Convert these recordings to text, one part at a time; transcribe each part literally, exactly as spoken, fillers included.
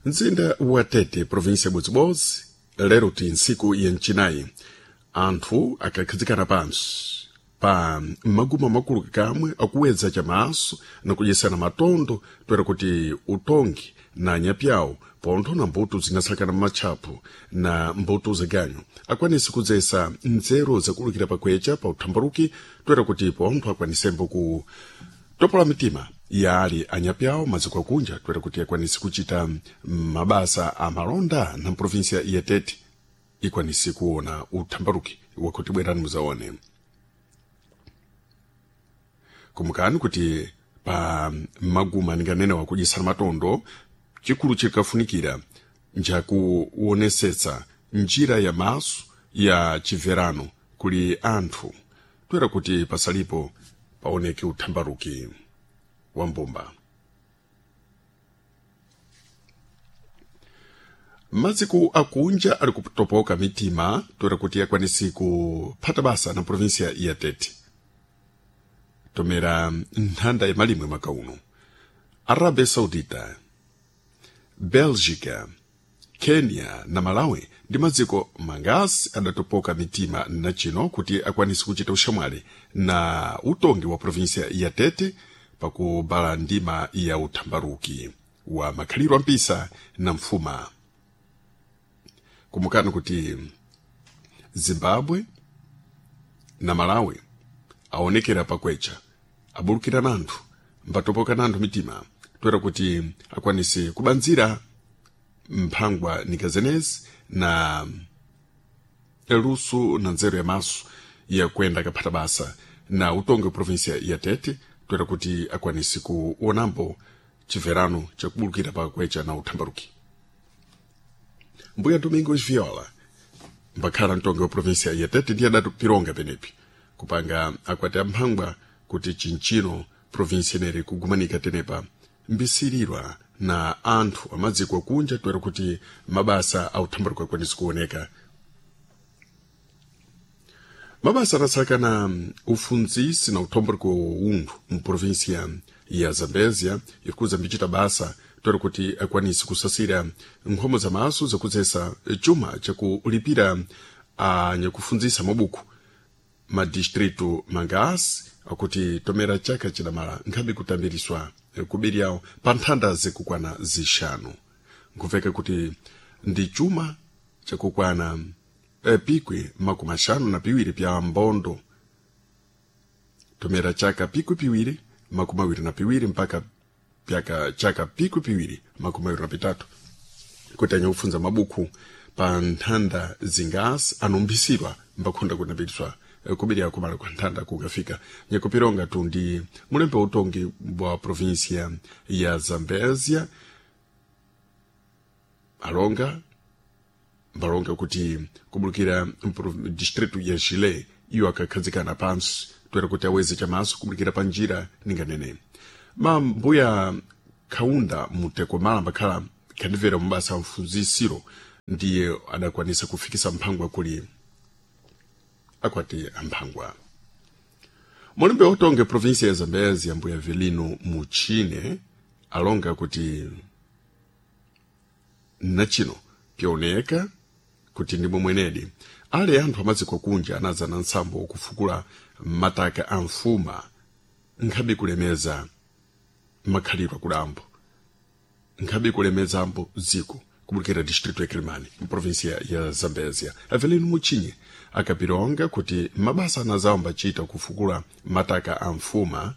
Mzinda wa Tete, província ya Bodzibodzi, lero ti ntsiku ya mcinayi, anthu akakhazikana pansi pa maguma makulu kamwe akuwedza chamaso na kudyesana matondo toera kuti utongi na nyapyawo pontho na mbuto zinasakana m'matchapo na mbuto zaganyu akwanise kudzesa nzeru zakulukira pakwecha pa uthambaruki toera kuti pontho akwanisembo ku topola mitima ya ali anyapyawo maziko akunja toera kuti akwanise kuchita mabasa a malonda na província ya Tete ikwanise kuona uthambaruki wakuti bwerani muzaone. Kumukani kuti pa maguma ninganene wakudyesana matondo chikulu chikafunikira njakuonesetsa njira ya maso ya chibverano kuli anthu toera kuti pasalipo paoneke uthambaruki wa mbumba. Maziko akunja ali kutopoka mitima toera kuti akwanisi kuphata basa na província ya Tete tomera nthanda ya malimwe mwaka uno. Arábia Saudita, Bélgica, Kenya na Malawi ndi maziko mangasi adatopoka mitima na chino kuti akwanise kuchita uxamwali na utongi wa província ya Tete pakubala ndima ya uthambaruki wa makhaliro ampisa na mfuma. Kumukani kuti Zimbabwe na Malawi aonekera pakwecha abulukira nanthu mbatopoka nanthu mitima toera kuti akwanise kubanzira mphangwa nikazenezi na luso na nzeru ya maso yakuenda kaphata basa na utongi wa província ya Tete toera kuti akwanise kuonambo chibverano chakubulukira pakwecha na uthambaruki. Mbuya Domingos Viola mbakhala mtongi wa província ya Tete ndiye adatipironga penepi kupanga akwati amphangwa kuti chinchino província ineri kugumanika tenepa mbisirirwa na anthu amadziko akunja toera kuti mabasa authambaruki akwanise kuoneka. Mabasa anatsakana ufundzisi na uthambaruki wa unthu mu província ya Zambézia ikuza mbichita basa toera kuti akwanise kusasira nkhomo za maso zakudzesa chuma chakulipira anyakufundzisa mabuku madistritu mangasi akuti tomera chaka chidamala nkhabe kutambiriswa kubiri yawo pa nthanda zikukwana zixanu nkuveka kuti ndi chuma chakukwana eh, pikwi makumi axanu na piwiri pya mbondo tomera chaka pikwi piwiri makumi awiri na piwiri mpaka pyaka chaka pikwi piwiri makumi awiri na pitatu kuti anyakufunza mabuku pa nthanda zingasi anumphisidwa mbakhunda kunambiriswa kubiri akumala kwa nthanda kukafika nyakupironga tu ndi mulembe utongi wa província ya Zambézia alonga mbalonga kuti kubulukira distrito ya Chile iyo akakhazikana pansi toera kuti aweze chamaso kubulukira pa njira ninganene. Mambuya Kaunda Mutekomala mbakhala khandivera mabasa a mfunzisiro ndiye adakwanisa kufikisa mphangwa kuli akwati amphangwa. Mulembe utonge província ya Zambézia mbuya Velino Muchine alonga kuti nachino pyaoneka kuti ndimo mwenedi ale anthu amadziko kunja anadzana ntsambo kufukula mataka a mfuma nkhabe kulemeza makhalidwe akulambo nkhabe kulemezambo dziko kubulukira distrito ya Quelimane mprovíncia ya Zambézia. Avelino Muchinye akapironga kuti mabasa anazawo mbachita kufukula mataka a mfuma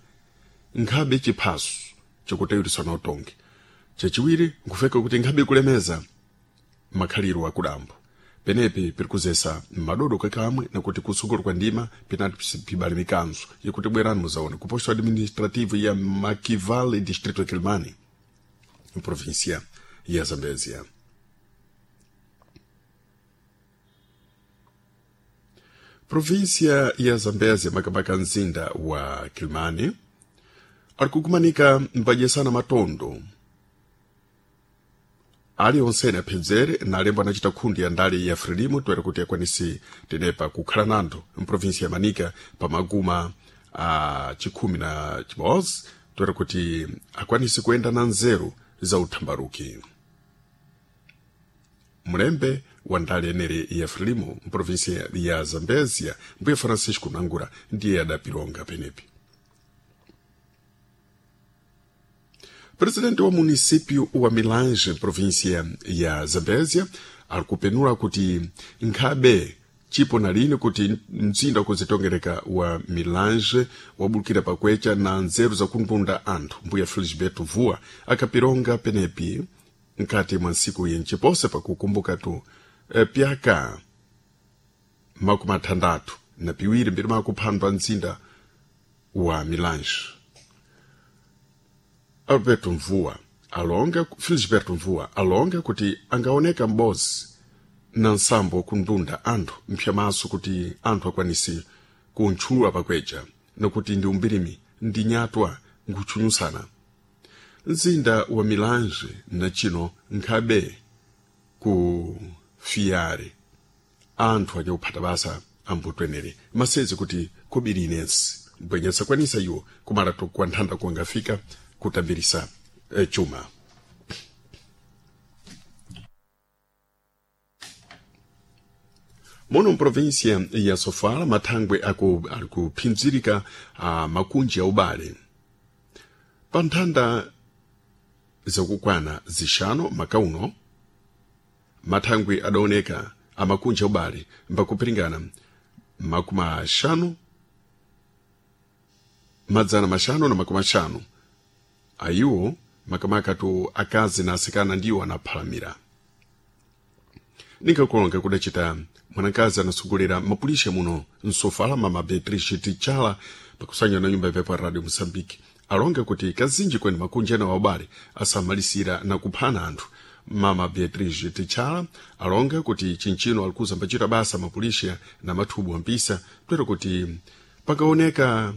nkhabe chiphaso chakutayurisana utongi chachiwiri nkufeka kuti nkhabe kulemeza makhaliro akudambo penepi pirikuzesa madodo kakamwe nakuti kusukulu kwa ndima pinati pibale mikanzo yakuti bwerani muzaone ku posto administrativo ya Maquivale distrito ya Quelimane província ya Zambézia. Província ya Zambézia makamaka mzinda wa Quelimane ali kukumanika mpadyesana matondo ali onsene aphedzere na alembo anachita khundi ya ndale ya Frelimo toera kuti akwanise tenepa kukhala nanthu mprovinsia ya Manica pamaguma a chikhumi na chimodzi toera kuti akwanise kuyenda na nzeru za uthambaruki. Mulembe wa ndale enere ya Frelimo mprovinsia ya Zambezia mbuye Francisco Nangura ndiye adapilonga penepi. Presidente wa município wa Milange, província ya Zambésia, alikupenula kuti nkhabe chipo na lini kuti mzinda kuzitongereka wa Milange wabulukira pakwecha na nzeru zakundunda anthu. Mbuya Felisberto Vua akapilonga penepi nkati mwa nsiku yenchipose pakukumbuka tu e, pyaka makumi athandathu na piwiri mbiri makuphandwa mzinda wa Milange. Alberto Mvua alonga Felisberto Mvua alonga kuti angaoneka m'bozi na nsambo kundunda anthu mphyamaso kuti anthu akwanise kuntchulula pakwecha nokuti ndi umbirimi ndi nyatwa nkutchunyusana. Mzinda wa Milange na chino nkhabe ku fiyare anthu anyakuphata basa ambutwenere masezi kuti kobiri inensi mbwenye sakwanisa iwo kumala kwa nthanda kuangafika kutambirisa eh, chuma. Muno mprovinsia ya Sofala mathangwe aku alikuphinzirika a makunji a ubale pa nthanda zakukwana zixano makauno mathangwe adaoneka a makunji a ubale mbakupiringana makumi axanu madzana maxanu na makumi axanu ayiwo makamaka tu akazi na asikana ndiwo anaphalamira. Ninkakulonga kudacita mwanakazi anasogolera mapulisha muno msofala mama Beatrice Tichala pakusanya na nyumba yapepo Radio Mosambike alonga kuti kazinji kweni makunji ena waubale asamalisira na kuphana anthu. Mama Beatrice Tichala alonga kuti chinchino alikuza mbachita basa mapulisha na mathubu ampisa twero kuti pakaoneka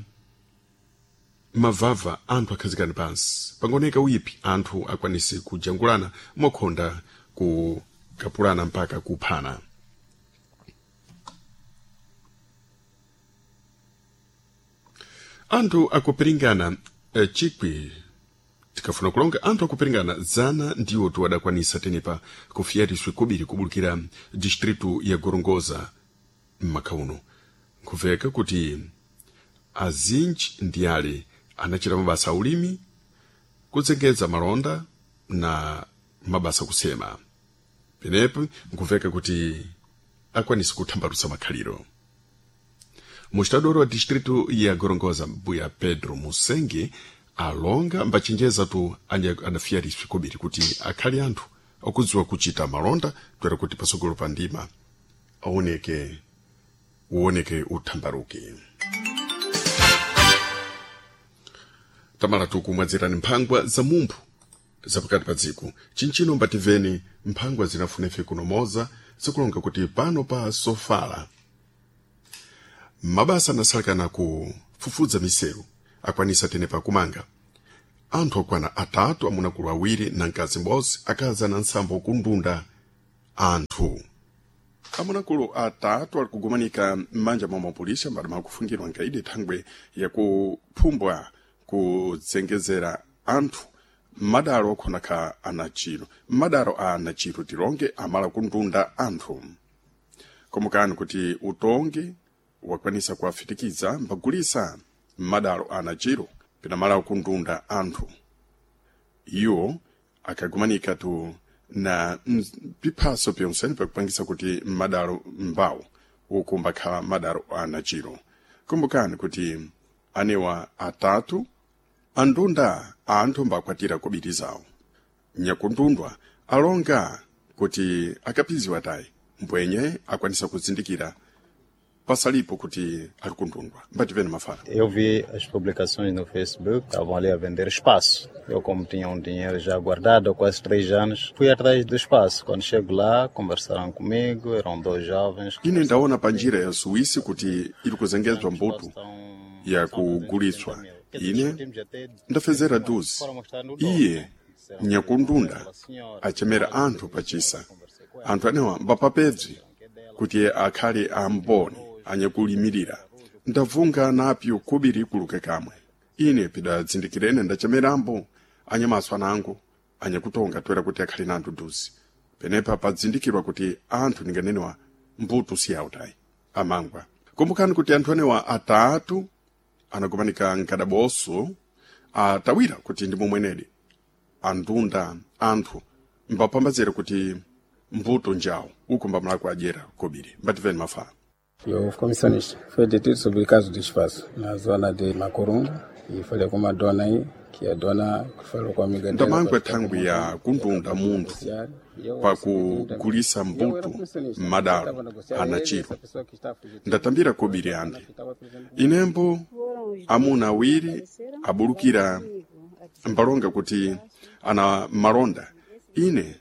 mavava anthu akhazikani pansi pangaoneka uyipi anthu akwanise kujangulana mokhonda kukapulana mpaka kuphana. Anthu akupiringana eh, chikwi tikafuna kulonga anthu akupiringana zana ndiwo tuwadakwanisa tenepa kufiyariswe kobiri kubulukira distritu ya Gorongosa m'makhauno. Nkuveka kuti azinji ndi ale anachita mabasa aulimi kudzengedza malonda na mabasa kusema penepo nkuveka kuti akwanise kuthambalutsa makhaliro. Mustadoro wa distritu ya Gorongosa mbuya Pedro Musenge alonga mbachenjeza tu adafiyariswe kobiri kuti akhale anthu akudziwa kuchita malonda twera kuti pasogolo pa ndima aoneke uoneke uthambaruke. Tamala tukumwadzirani mphangwa za mumphu zapakati pa dziko chinchino mbativeni mphangwa zinafunefe kunomoza zikulonga kuti pano pa Sofala mabasa anasalekana kufufudza miseru akwanisa tenepa kumanga anthu akwana atatu amunakulu awiri na mkazi m'bodzi akazi ana nsambo kundunda anthu. Amunakulu atatu ali kugumanika m'manja mwa mapolisa mbali makufungirwa nkaidi thangwe yakuphumbwa kudzengezera anthu madalo okhonakha anachiro madalo a anachiro tilonge amala kundunda anthu. Komukani kuti utongi wakwanisa kuwafitikiza mbagulisa madalo a anachiro pinamala kundunda anthu. Iwo akagumanika tu na piphaso pyonsene pakupangisa kuti madalo mbawo ukumbakhala madalo a anachiro. Kumbukani kuti anewa atatu andunda anthu mbakwatira kobiri zawo. Nyakundundwa alonga kuti akapiziwa tayi mbwenye akwanisa kuzindikira pasalipo kuti ali kundundwa. Mbativene mafana. Eu vi as publicações no Facebook, estavam ali a vender espaço. Eu, como tinha um dinheiro já guardado há quase três anos, fui atrás do espaço. Quando chego lá, conversaram comigo, eram dois jovens. Ine ndaona pa njira ya Suíça kuti iri kuzengezwa mbuto yakuguliswa. Ine ndafezera duzi iye nyakundunda achemera anthu pachisa anthu anewa mbapapedzi kuti akhale amboni anyakulimirira. Ndavunga napyo kubiri kuluke kamwe. Ine pidadzindikirene ndachemerambo anyamaso anango anyakutonga toera kuti akhale nanthu duzi. Penepa padzindikirwa kuti anthu ninganenewa mbuto si autayi amangwa. Kumbukani kuti anthu anewa atatu anakumanika mkadaboso atawira kuti ndi momwenedi andunda anthu mbapambazire kuti mbuto njawo uku mbamulako adyera kobiri. Mbativeni mafala. O comissionista foi detido sobre caso de espaço na zona de Macorungo e falei com uma dona aí, que a dona falou com a amiga dela. Ndamangwe thangwi ya kundunda munthu pakugulisa mbuto m'madalo anachiro. Ndatambira kobiri ande inembo amuna awiri abulukira mbalonga kuti ana malonda. Ine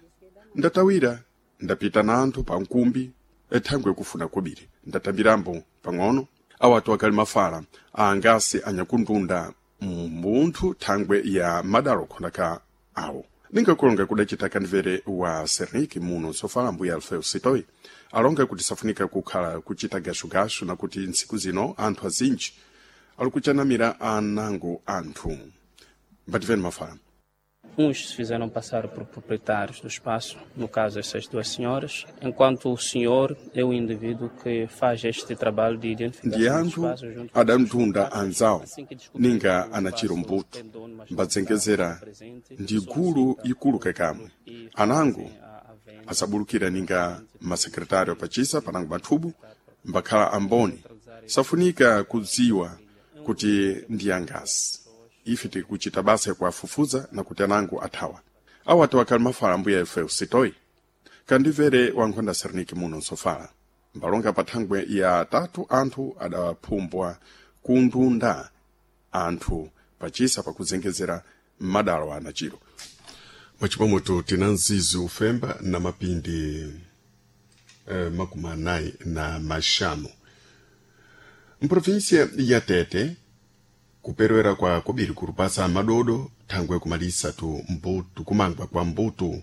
ndatawira ndapita na anthu pa nkumbi ethangwe kufuna kobiri. Ndatambirambo pang'ono awatu akali mafala aangasi anyakundunda munthu thangwe ya madalo khondaka awo. Ningakulonga kudacita kandivere wa Serniki muno sofala mbuya Alfeu Sitoi alonga kuti safunika kukhala kuchita gashugashu na kuti ntsiku zino anthu azinji alikuchanamira anango anthu. Mbativeni mafala. Uns se fizeram passar por proprietários do espaço, no caso essas duas senhoras, enquanto o senhor é o indivíduo que faz este trabalho de identificação Ndi do anthu espaço junto com os adamtunda anzawo Assim que descobrimos ninga que o anachiro espaço mbuto tem dono, mas não mbadzengezera está presente, ndi gulu ikulu kakamwe. e Anango fazem a, a venda. asabulukira ninga masekretário pachisa panango mathubu mbakhala amboni safunika kudziwa kuti ndi angasi. Ife tikuchita basa yakuafufuza na kuti anango athawa. Awatu akali mafala mbuya Efeu Sitoi kandivere wankhonda Serniki muno nsofala mbalonga pa thangwe ya tatu anthu adaphumbwa kundunda anthu pachisa pakuzengezera m'madalo anachiro. Mwachipomweto tina mzizi ufemba na mapindi eh, makumi anayi na maxanu mprovinsia ya Tete kuperewera kwa kobiri kurupasa madodo thangwe kumalisa tu mbuto kumangwa kwa mbuto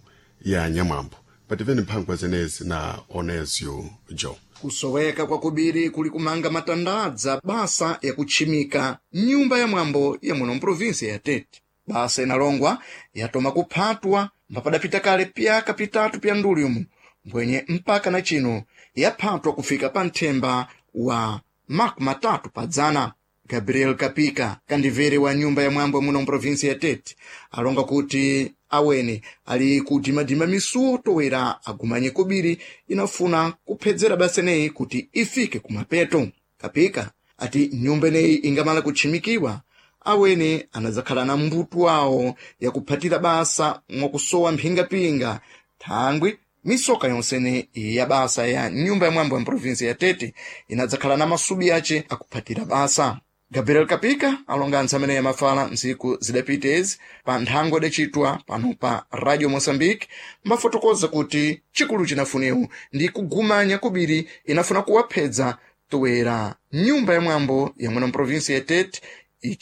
ya nyamwambo. Pativeni mphangwa zenezi na Onesio Jo. Kusoweka kwa kubiri kuli kumanga matandadza basa yakutchimika nyumba ya mwambo ya muno mprovinsia ya Tete. Basa inalongwa yatoma kuphatwa mbapadapita kale pyaka pitatu pya nduli umu mbwenye mpaka na chino yaphatwa kufika pa nthemba wa makumi matatu pa dzana. Gabriel Kapika kandivere wa nyumba ya mwambo muno mprovinsia ya Tete alonga kuti awene ali kudimadima misuwo towera agumanye kobiri inafuna kuphedzera basa ineyi kuti ifike kumapeto. Kapika ati nyumba ineyi ingamala kutchimikiwa awene anadzakhala na mbuto wawo yakuphatira basa mwakusowa mphingapinga thangwi misoka yonsene ya basa ya nyumba ya mwambo ya mprovinsia ya Tete inadzakhala na masubi ace akuphatira basa. Gabriel Kapika alonga anthu amene yamafala ntsiku zidapita ezi pa nthango idacitwa pano pa Radio Mozambique mbafotokoza kuti chikulu chinafuniwu ndi kugumanya kubiri inafuna kuwaphedza toera nyumba ya mwambo ya muno mprovinsia ya Tete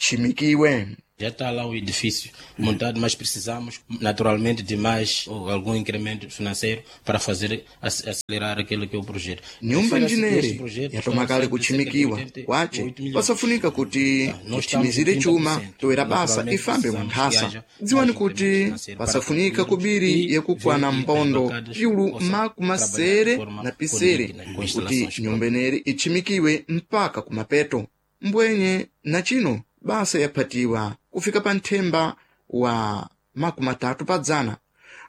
itchimikiwe. Já está lá o edifício montado, mas precisamos naturalmente de mais ou algum incremento financeiro para fazer ac- acelerar aquilo que é o projeto. Nyumba Refere-se que este njineri projeto yatoma está kale cerca de kutchimikiwa oitenta e oito kwace milhões. pasafunika kuti Tá, nós estamos tithimizire com chuma trinta por cento. toera basa Naturalmente ifambe precisamos que mwankhasa. haja Dziwani mais kuti incremento financeiro para pasafunika concluirmos kubiri e yakukwana ver que as mpondo bancadas piulu possam makumi trabalhar de masere forma na pisere condigna, com kuti instalações nyumba ineri itchimikiwe mpaka kumapeto. Mbwenye na chino basa yaphatiwa kufika pa nthemba wa makumi atatu pa dzana.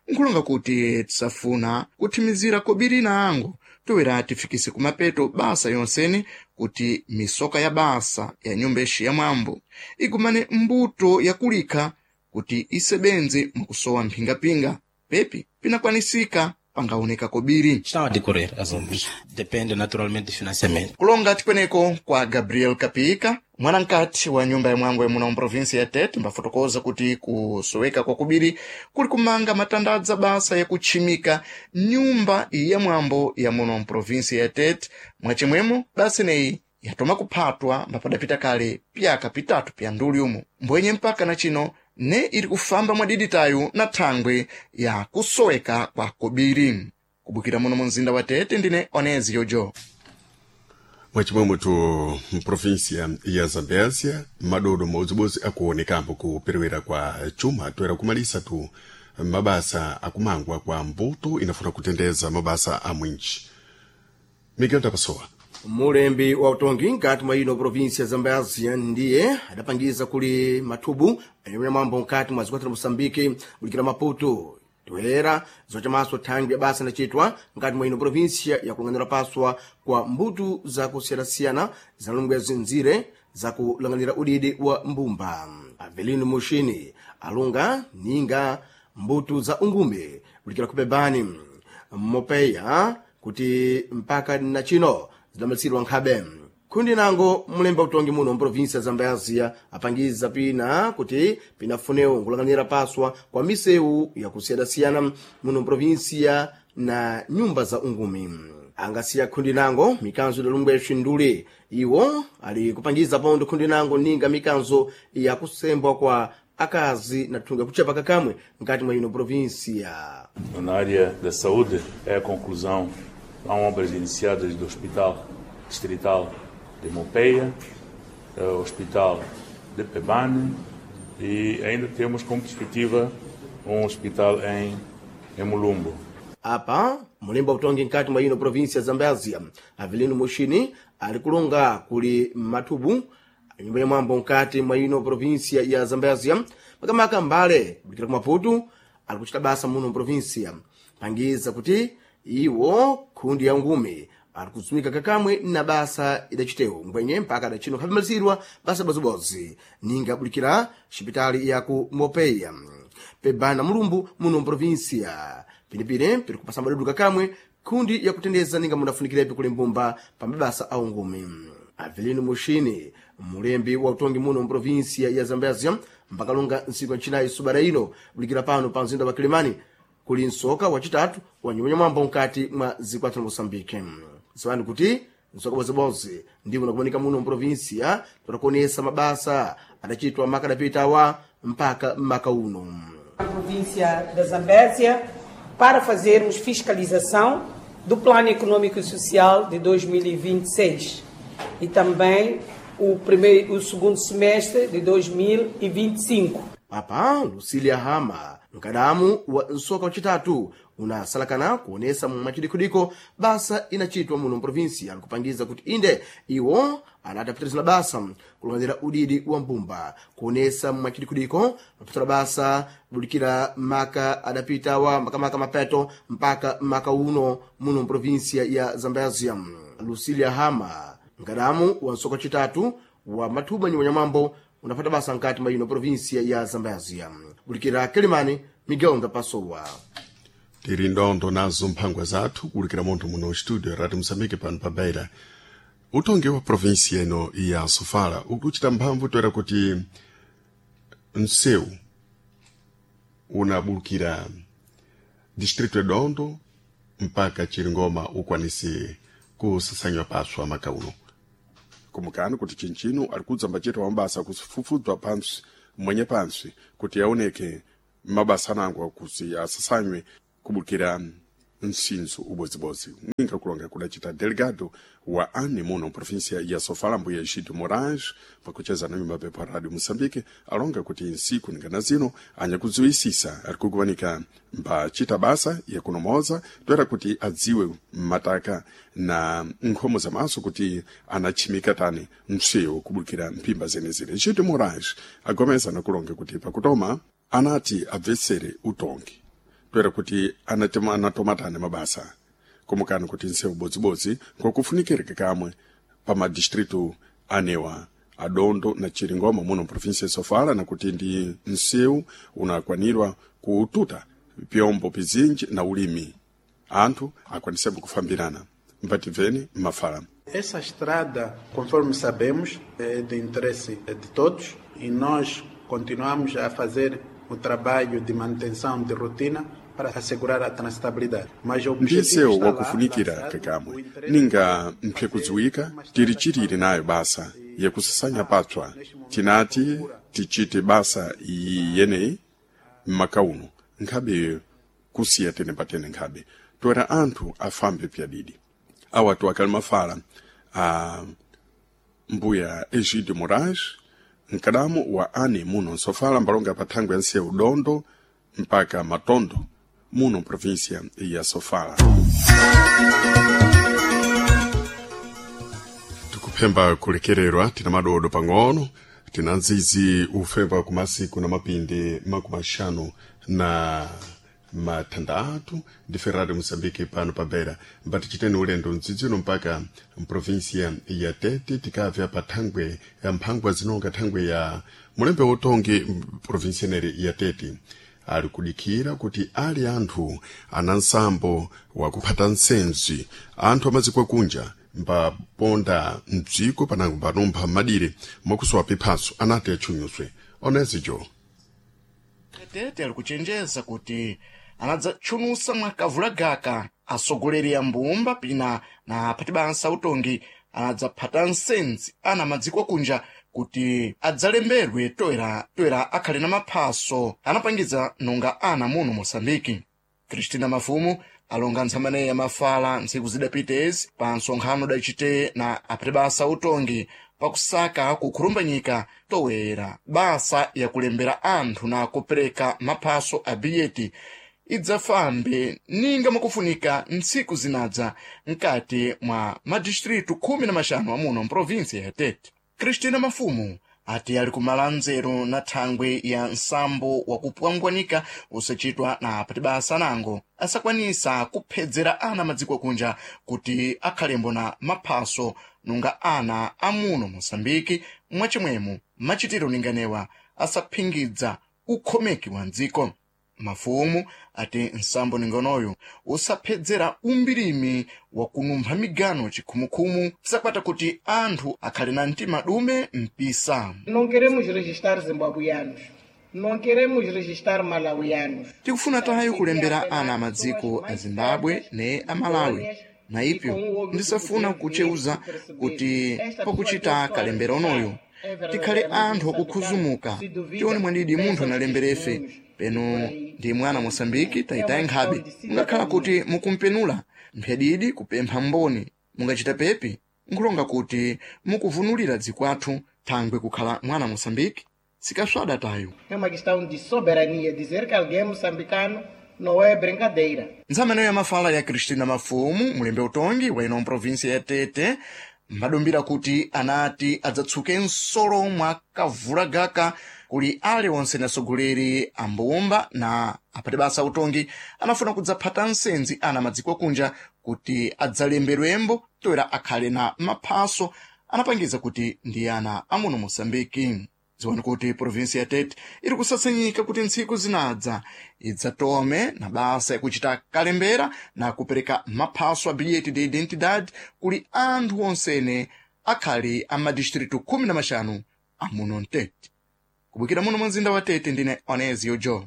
Nkulonga kuti tisafuna kuthimizira kobiri na ango toera tifikise kumapeto basa yonsene kuti misoka ya basa ya nyumba ixi ya mwambo igumane mbuto yakulikha kuti isebenze mwakusowa mphingapinga pepi pinakwanisika pangaoneka kobiri. Estão a decorrer as obras. Depende naturalmente do financiamento. Kulonga tikweneko kwa Gabriel Kapika mwanamkati wa nyumba ya mwambo ya muno mprovinsia ya Tete mbafotokoza kuti kusoweka kwa kubiri kuli kumanga matandadza basa yakutchimika nyumba ya mwambo ya muno mprovinsia ya Tete. Mwachimwemo basa ineyi yatoma kuphatwa mbapadapita kale pyaka pitatu pya nduli umu mbwenye mpaka na chino ne ili kufamba mwadiditayu na thangwe ya kusoweka kwa kobiri. Kubukira muno mu mzinda wa Tete ndine Onezi Yojo. Mwachimwemwetu mprovinsia ya Zambésia madodo modzibodzi akuonekambo kuperewera kwa chuma toera kumalisa tu Mabasa akumangwa kwa mbuto inafuna kutendeza mabasa a mwinchi. Miguel Dapasoa. Mulembi wa utongi nkati mwa ino província ya Zambésia ndiye adapangiza kuli mathubu anyamwira mwambo nkati mwa zikwata la Moçambique bulikira Maputo toera zocamaso thangwi ya basa inacitwa nkati mwa ino província ya kulang'anira paswa kwa mbuto zakusiyanasiyana zinalungwa zinzire zakulang'anira udidi wa mbumba. Avelino Mushini alunga ninga mbuto za ungume bulikira kupebani mopeya kuti mpaka na chino zidamalitsidwa nkhabe. Khundi nango mulemba utongi muno mprovinsia ya Zambésia apangiza pina kuti pinafunewo nkulang'anira paswa kwa misewu yakusiyanasiyana muno mprovinsia na nyumba za ungumi. Angasiya khundi nango mikanzo idalungwa yaxindule iwo ali kupangiza pondo khundi nango ninga mikanzo yakusembwa kwa akazi na thunga kuchepa kakamwe nkati mwa ino província. Na área da saúde é a conclusão. Há obras iniciadas do Hospital Distrital de Mopeia, o Hospital de Pebane e ainda temos como perspectiva um hospital em, em Mulumbo. Apa mulemba utongi nkati mwa ino província ya Zambésia Avelino Mushini ali kulonga kuli mathubu nyumba ya mwambo nkati mwa ino província ya Zambésia makamaka mbale kulikira ku Maputo ali kuchita basa muno província pangiza kuti iwo khundi ya ngumi ali kudzumika kakamwe na basa idacitewo ngwenye mpaka adacino khapimalisidwa basa bozibozi ninga abulikira xipitali ya ku Mopeya Pebana Mulumbu muno mprovinsia pinepine piri kupasa madudu kakamwe khundi yakutendeza ninga munafunikirepi kuli mbumba pa mabasa a ungumi. Avelino Mushini mulembi wa utongi muno mprovinsia ya Zambésia mpakalunga ntsiku ya ncinayi subada ino bulikira pano pa mzinda wa Kilimani kuli msoka wacitatu wa nyumba nyamwambo nkati mwa zikwathu la Moçambique. Ziwani kuti msoka bozibozi ndiwo unakumanika muno mprovinsia totakuonesa mabasa adacitwa maka adapitawa mpaka maka uno. A província da Zambésia para fazermos fiscalização do Plano Econômico e Social de dois mil e vinte e seis e também o, primeiro, o segundo semestre de dois mil e vinte e cinco. Papa Lucília Hama mkadamu wa msoka wacitatu unasalakana kuonesa mwachidikudiko basa inacitwa muno mprovinsia alikupangiza kuti inde iwo anadapitirizana basa kulang'anira udidi wa mbumba kuonesa mwachidikudiko mapitira basa bulikira maka adapitawa makamaka mapeto mpaka maka uno muno mprovinsia ya Zambésia. Lucília Hama mkadamu wa msoka wacitatu wa mathuba nyumba nyamwambo unapata basa nkati mwa ino província ya Zambésia. Bulikira Kilimani, Miguel Ndapasowa. Tiri ndondo nazo mphangwa zathu kulikira munthu muno studio Radio Moçambique pano pa Beira. Utongi wa província ino ya Sofala ukuchita mphamvu toera kuti msewu unabulukira distrito ya Dondo mpaka Chiringoma ukwanise kusasanywa paswa makauno. Kumukani kuti chinchino ali kudza mbachita wa mabasa kufufudzwa pantsi mwenye pantsi kuti aoneke mabasa anango kuti asasanywe kubukira msinzo ubodzibodzi ninga kulonga kudacita delegado wa ane muno província ya Sofala mbuya Egídio Moraes pakucheza na nyumba pepa Radio Moçambique alonga kuti nsiku ningana zino anyakudziwisisa ari kukuwanika mbachita basa yakunomoza toera kuti adziwe mataka na nkhomo za maso kuti anachimika tani msewu kubukira mphimba zenezene. Egídio Moraes agomeza nakulonga kuti pakutoma anati abvetsere utongi toera kuti anatema anatomatane mabasa kumukani kuti nsewu bodzibodzi ngokufunikireka kamwe pa madistritu anewa Adondo na Chiringoma muno província ya Sofala na kuti ndi nsewu unakwanirwa kututa pyombo pizinji na ulimi anthu akwanisepo kufambirana mpativeni mafala. Essa estrada, conforme sabemos, é de interesse de todos e nós continuamos a fazer o trabalho de manutenção de rotina para assegurar a transitabilidade. Mas o objetivo Ndisewu está lá, wakufunikira lançado, kakamwe o interesse ninga mphekudziwika tiri chiriri nayo basa yakusasanya patswa tinati tichite basa iyi yeneyi mmakauno nkhabe kusiya tene patene nkhabe toera anthu afambe pyadidi awatu akali mafala a mbuya Egídio Moraes mkadamu wa ane muno nsofala mbalonga pa thangwe ya nsewu Dondo mpaka Matondo muno província ya Sofala. Tikuphemba kulekererwa tina madodo pang'ono tina nzizi ufemba kumasiku na mapindi makumi axanu na matandatu ndi Ferrari Moçambique pano pa Beira mbati chiteni ulendo mdzidzi uno mpaka mprovinsia ya Tete tikabva pa thangwe ya mphangwa zinonga thangwe ya mulembe wotongi provinsia neri ya Tete ali kudikira kuti ali anthu ana nsambo wakuphata nsenzi anthu amaziko kunja mbaponda mdziko panango mbanumpha madire mwakusowa piphaso anati atchunyuswe onezijo Tete ali kuchenjeza kuti anadzatchunusa mwa kavulagaka atsogoleri a mbumba pina na aphatibansa utongi anadzaphata nsenzi ana madziko akunja kuti adzalemberwe toera toera akhale na maphaso anapangiza nonga ana muno Moçambike. Cristina Mafumu alonga ntsamaneyi ya mafala ntsiku zidapitezi pa nsonkhano udacite na aphatibasa utongi pakusaka kukhulumbanyika toera basa yakulembera anthu na kupereka maphaso a biyeti idzafambe ninga mwakufunika ntsiku zinadza mkati mwa madistritu khumi na maxanu amuno mprovinsia ya Tete. Cristina Mafumu ati ali kumala nzeru na thangwe ya nsambo wakupwangwanika usachitwa na apatibasa nango asakwanisa kuphedzera ana madziko akunja kuti akhalembo na maphaso nunga ana amuno Moçambike mwachimwemo machitiro ninganewa asaphingidza ukhomeki wa mdziko. Mafumu ati nsambo ningonoyo usaphedzera umbirimi wakunumpha migano chikhumukhumu sakwata kuti anthu akhale na mtima dume mpisa. Não queremos registrar zimbabueanos, não queremos registrar malawianos. Tikufuna tayo kulembera ana amadziko a Zimbabwe ne a Malawi na ipyo ndisafuna kucheuza kuti pakuchita kalembera onoyo tikhale anthu akukhuzumuka tione mwandidi munthu analemberefe peno ndi mwana Moçambike tayitaye nkhabe mungakhala kuti mukumpenula mphyadidi kupempha mboni mungachita pepi nkulonga kuti mukuvunulira dziko athu thangwe kukhala mwana Moçambike sikaswada tayo. É uma questão de soberania. Dizer que alguém é moçambicano não é brincadeira. Ntsamaneyo ya mafala ya Cristina Mafumu mulembe utongi wa ino mprovinsia ya Tete mbadumbira kuti anati adzatsuke nsolo mwa kavulagaka kuli aliwonse na atsogoleri a mbumba na apatibasa utongi anafuna kudzaphata nsenzi ana madziko akunja kuti adzalemberwembo toera akhale na maphaso anapangiza kuti ndi ana amuno Moçambike. Ziwani kuti provinsi ya Tete iri kusasenyika kuti ntsiku zinadza idzatome na basa yakuchita kalembera na kupereka maphaso a bilhete de identidade kuli anthu onsene akhali a madistritu khumi na maxanu amuno mtete. Kubukira muno mumzinda wa Tete ndine Onesio Joe.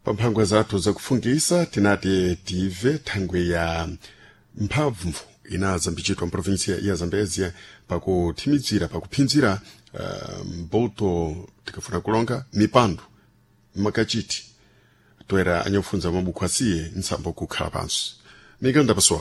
Pamphangwa zathu zakufungisa tinati tive thangwe ya mphamvu inazambichitwa mprovinsia ya Zambezia pakuthimizira pakuphinzira uh, mbuto tikafuna kulonga mipando makachiti toera anyakufunza mabuku asiye nsambo kukhala pansi mikanda pasowa.